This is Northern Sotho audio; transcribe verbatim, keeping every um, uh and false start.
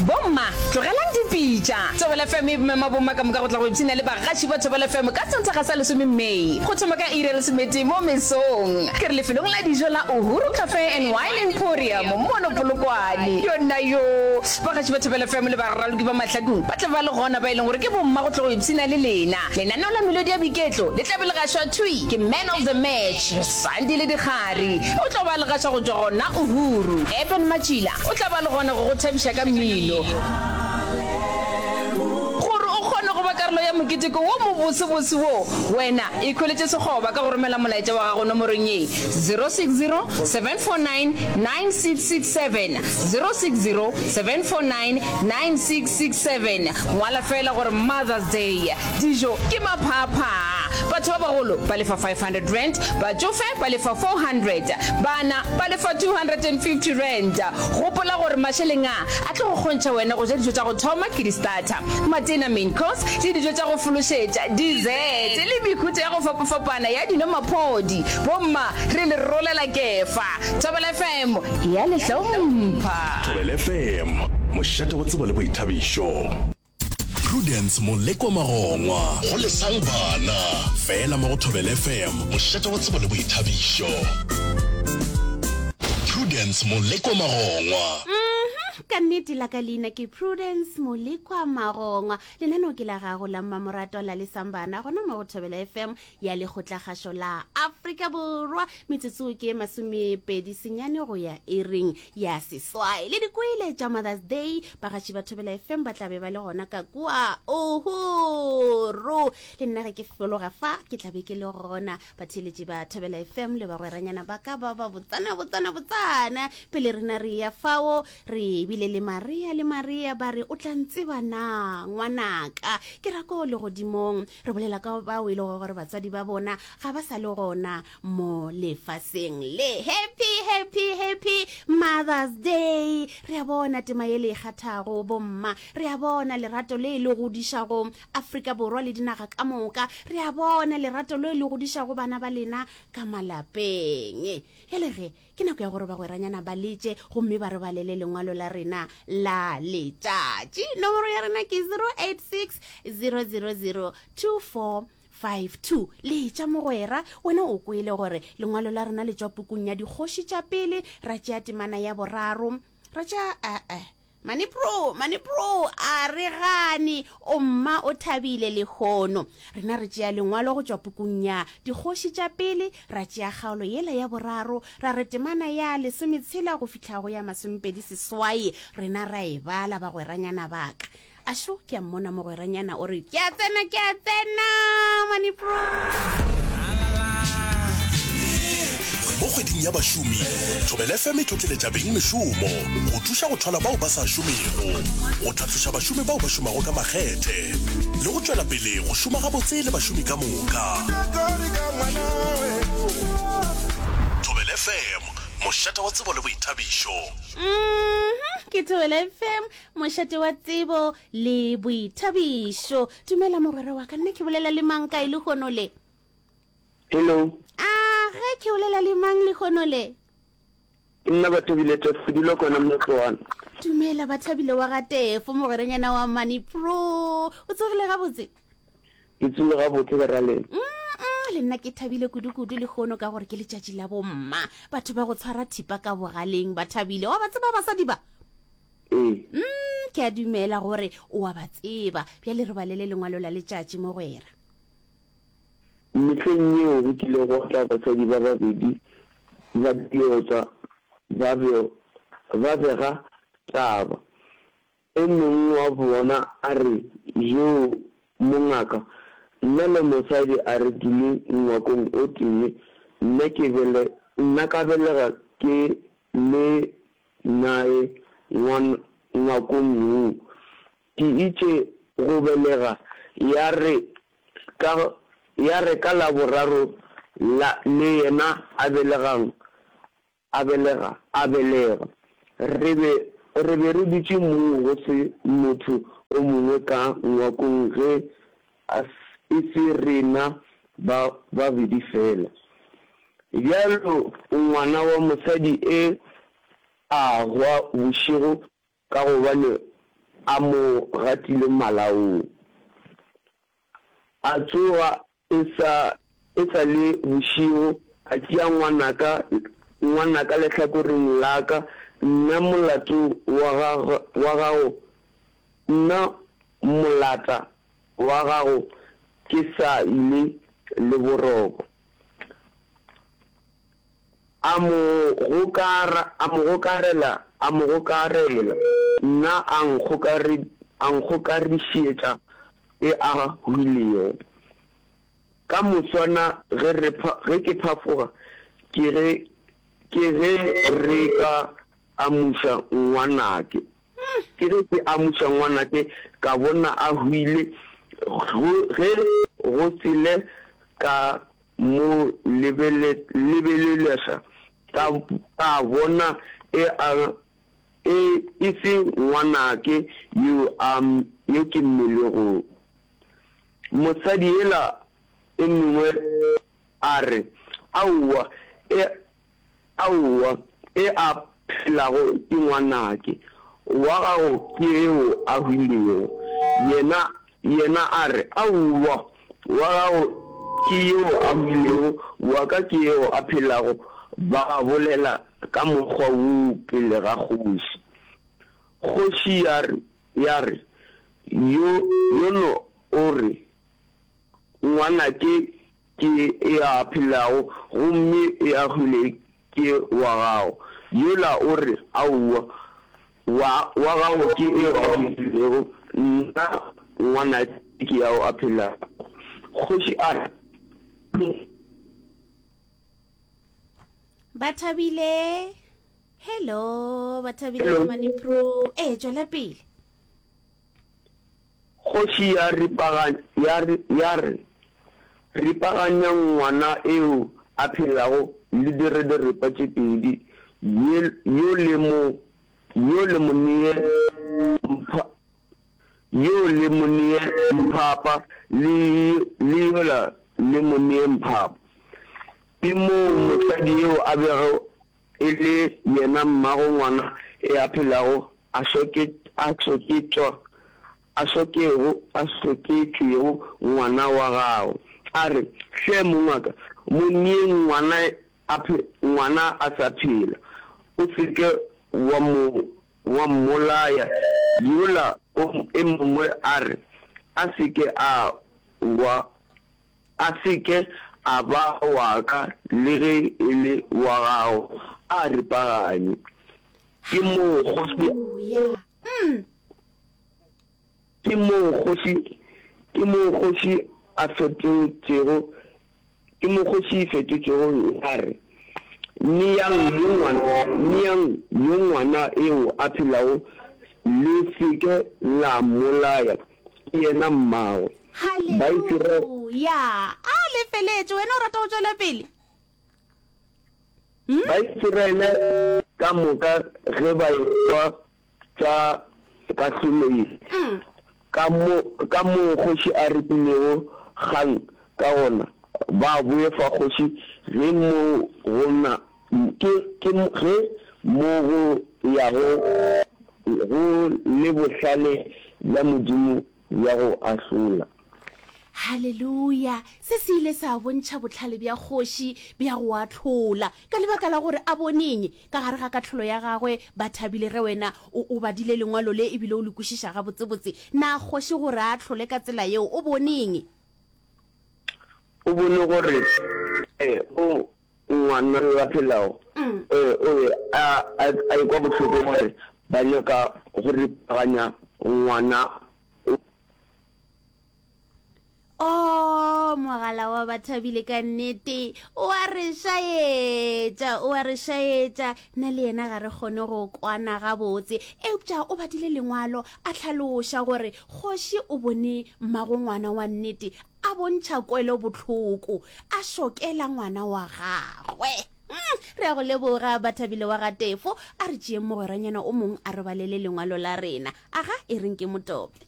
Bomma, tlogelang dipitša. Thobela F M e mema bomma ka moka go tla go ipshina le bagaši ba Thobela F M ka Sontaga sa lesome May go thoma ka iri ya lesometee mo mesong. Ke re lefelong la dijo la Uhuru Cafe and Wine Emporium mono Polokwane. Yonna yoo! Bagaši ba Thobela F M le baraloki ba mahlakong ba tla ba le gona ba e leng gore ke bomma go tla go ipshina le lena. Lenaneo la melodi ya boiketlo le tla be le gašwa thwi ke Man of the Match Sandile Dikgari. O tlo ba le gašwa go tšwa gona Uhuru. Eben Matšila o tla ba le gona go go thabiša ka mmino. Gore o kgone go ba karolo ya moketeko wo mobosebose wo, wena ikhweletše sekgoba ka go romela molaetša wa gago nomorong ye, zero six zero, seven four nine, nine six six seven, zero six zero, seven four nine, nine six six seven. Ngwala feela gore Mother's Day. Dijo ke maphaaphaa. Batho ba bagolo ba lefa five hundred rand, batšofe ba lefa four hundred, bana ba lefa two hundred and fifty rand. Gopola gore mašeleng a a tlo go kgontšha wena go ja dijo tša go thoma ke di-starter, matena, main course, le dijo tša go fološetša, dessert, le mehuta ya go fapafapana ya dino maphodi. Bomma, re le rolela kefa. Thobela F M e a le hlompha. Thobela F M, mošate wa tsebo le boithabišo. Prudence Molekwa Magongwa go Lesang Bana fela mo go Thobela F M, mošate wa tsebo le boithabišo. Prudence Molekwa Magongwa. Mhm, ka nnete la ka leina ke Prudence Molekwa Magongwa. Lenaneo ke la gago la mmamoratwa la Lesang Bana gona mo go Thobela F M ya Lekgotlakgašo la Afrika Borwa. Metsotso ke masomepedi senyane go ya iring ya seswai. Le dikwele tša Mother's Day, bagaši ba Thobela F M ba tla be ba le gona ka kua Uhuru. Le nna ge ke fologa fa ke tla be ke le gona. Batheeletši ba Thobela F M le bagweranyana ba ka ba ba botsana botsana botsana. Pele rena re ya fao re bile le Maria le Maria ba re o tla ntseba na ngwanaka ke ra ko legodimong. Re bolela ka bao e lego gore batswadi ba bona ga ba sa le gona mo lefaseng le. Happy, happy, happy Mother's Day. Re a bona tema ye le e kgathago bomma, re a bona lerato le le godišago Afrika Borwa le dinaga ka moka, re a bona lerato le le godišago bana ba lena ka malapeng. Bjale ge ke nako ya gore bagweranyana ba letše gomme ba re balele lengwalo la rena la letšatši. Nomoro ya rena ke zero eight six, zero zero zero, two four five two. Letša mogwera, wena o kwele gore lengwalo la rena le tšwa pukung ya Dikgoši tša Pele, ra tšea temana ya boraro, ra tšea, eh, eh, Mane bro, mane bro, a re gane, o mma o thabile lehono. Rena re tšea lengwalo go tšwa pukung ya Dikgoši tša Pele, ra tšea kgaolo yela ya boraro, ra re temana ya lesometshela go fihla go ya masomepedi seswai, rena ra e bala, bagweranyana ba ka. Ašo, ke a mmona mogweranyana o re, ke a tsena, ke a tsena, mane bro. Mo kgweding ya bašomi, Thobela F M e tlotleletša beng mešomo go thuša go thwala bao ba sa šomego, go tlhatloša bašomi bao ba šomago ka makgethe le go tšwela pele go šoma gabotse le bašomi ka moka. Thobela F M, mošate wa tsebo le boithabišo. Mhm, ke Thobela F M, mošate wa tsebo le boithabišo. Dumela mogwera wa ka, nna ke bolela le mang kae lehono le? Hello. A ge ke bolela le mang lehono le? Ke nna Bathabile Tefo, ke dula kona Motloana. Dumela Bathabile wa ga Tefo, mogwerenyana wa Money Pro. O tsogile gabotse? Ke tsogile gabotse ka ra lena. Mm, le nna ke thabile kudu-kudu lehono ka gore ke letšatši la bomma. Batho ba go tshwara thipa ka bogaleng ba thabile. Wa ba tseba basadi ba? Ee. Mm, ke a dumela gore o a ba tseba. Bjale re balele lengwalo la letšatši, mogwera. Mehleng yeo go kile gwa tla basadi ba babedi ba diotsa ba be ba bega taba. E mongwe wa bona a re, Joo, mongaka, nna le mosadi a re dule ngwakong o tee, nna ke bele, nna ka belega ke le nae ngwan, ngwakong woo. Ke itše go belega ya re ka, ya re ka la boraro la, le yena a belegang, a belega, a belega. Re be, re be re dutše moo go se motho o mongwe ka ngwakong ge e se rena ba babedi fela. Bjalo ngwana wa mosadi e a hwa bošego ka gobane a mo gatile malaong. A tsoga e sa, e sa le bošego, a tšea ngwanaka, ngwanaka lehlakoreng la ka, nna molato wa gagwe, wa gago, nna molata wa gago ke sa ile le boroko. A mo gokara, a mo gokarela, a mo gokarela, nna a nkgokare, a nkgokarišetša e a hwilego. Ka moswana ge re, ge ke phafoga, ke ge, ke ge re ka amuša ngwanake. Ke ge ke amuša ngwanake, ka bona a hwile, go, ge go sele ka mo lebeleleša, ka, ka bona e a, e, e se ngwanake yo a, yo ke mmelegong. Mosadi yela e mengwe a re, Aowa, e, Aowa, e a phelago ke ngwanake, wa gago ke eo a hwilego. Yena, yena a re, Aowa, wa gago ke eo a hwilego, wa ka ke eo a phelago. Ba bolela ka mokgwa woo pele ga kgoši. Kgoši ya re, ya re, Yo, yono o re, Ngwanake ke e a phelago gomme e a hwile ke wa gago. Yola o re, Aowa, wa, wa gago ke eo a hwilego, nna ngwanake ke ao a phelago. Kgoši a re. Bathabile, Hello, Bathabile Manipro. Ee, tšwela pele. Kgoši ya ripaganya, ya re, ya re, Ripaganyang ngwana eo a phelago le dire diripa tše pedi, ye, yo le mo, yo le mo nee mpha, yo le mo nee mphapa, le, le yola le mo nee mphapa. Ke moo mosadi eo a bego e le yena mmago ngwana e a phelago a soke, a soketšwa, a sokego, a soketšwego ngwana wa gagwe, a re, Hle mongwaka, mo neeng ngwana a phe, ngwana a sa phela, o se ke wa mo, wa mmolaya. Yola o e mongwe a re, A se ke a wa. A se ke a ba wa ka le ge e le wa gago, a ripaganye. Ke moo kgoši, ke moo kgoši, ke moo kgoši a fetotšego, ke moo kgoši e fetotšego ya re, Neang yo ngwana, neang yo ngwana eo a phelago, le se ke la mmolaya. Ke yena mmagwe. Baisiraele. Haleluya! A le feletše. Wena o rata go tšwela pele? Hmm? Baisiraele ka moka ge ba ekwa tša kahlolo ye, Mm. ka mo, ka moo kgoši a ripilego kgang ka gona, ba boefa kgoši ge mo go na, ke, ke, ge mo go yago go le bohlale bja Modimo bja go ahlola. Haleluya! Se se ile sa bontšha bohlale bja kgoši bja go ahlola. Ka lebaka la gore a bone eng ka gare ga kahlolo ya gagwe, ba thabile ge wena o, o badile lengwalo le e bile o le kwešiša gabotsebotse. Na kgoši gore a ahlole ka tsela yeo, o bone eng? O bone gore o Ngwana yo a phelago o be a a ekwa bohloko gore ba nyaka go ripaganya ngwana o. Oh, mogala wa Bathabile ka nnete o a re šaetša, o a re šaetša. Nna le yena ga re kgone go kwana gabotse. Eupša o badile lengwalo a hlaloša gore kgoši o bone mmago ngwana wa nnete A bontšha kwelobohloko, a šokela ngwana wa gagwe. Mm, re a go leboga, Bathabile wa ga Tefo. A re tšeeng mogweranyana o mong a re balele lengwalo la rena. Aga, e reng ke mo tope.